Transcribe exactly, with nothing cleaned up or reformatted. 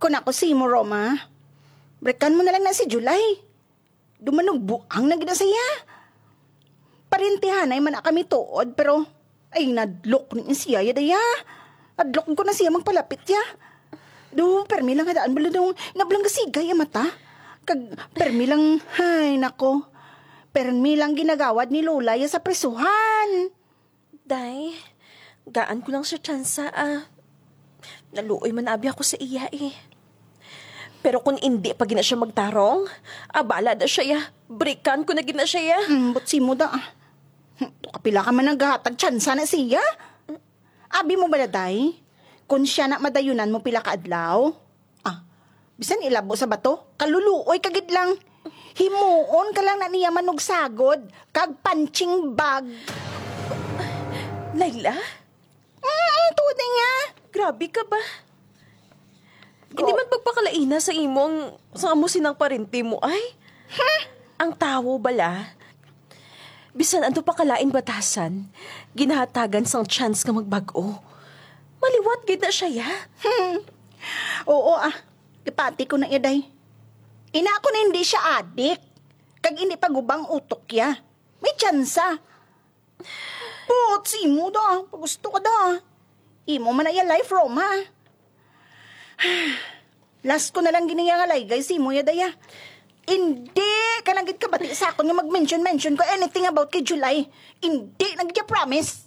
Kung ako sa imo, Roma, breakan mo na lang na si July. Dumanugbuang na gid na siya. Parintihanay man na kami tuod, pero ay, nadlok ni siya, ya, daya. Nadlok ko na siya magpalapit, ya. Do, permi lang nga daan bala daw nablang gasigay ang mata. Kag permi lang, ay, nako. Permi lang ginagawad ni Lola ya sa prisuhan. Day, gaan ko lang siya tsansa, ah. Naluoy man abi ako sa iya, eh. Pero kung indi pa gina siya magtarong, abala da siya, ya. Breakan ko na gina siya, ya. Mm, but si mo da, ah. Hmm, kapila ka man naghatag tsansa na siya? Abi mo bala, day? Kung siya na madayunan mo pila ka adlaw? Ah, bisan ilabo sa bato, kaluluoy ka gid lang. Himuon ka lang na niya manugsagod, kag punching bag. Laila? Mm, tuod na niya. Grabe ka ba? Hindi man pagpakalaina sa imo ang, sa amo sinang parente mo, ay? Ang tawo bala, bisan ano pa kalain batasan, ginahatagan sang chance nga magbag-o. Maliwat gid na siya, ya. Oo, ah. Ipati ko na iya, day. Ina ko na hindi siya adik. Kag hindi pa gubang utok, ya. May tsansa. Buot si imo da, pag gusto ka da. Imo man na iya life, Roma. Last ko na lang gini nga laygay si imo, ya, daya. Hindi ka na gid kabati sa akon nga mag-mention-mention ko anything about kay July. Hindi na gid, ya, promise.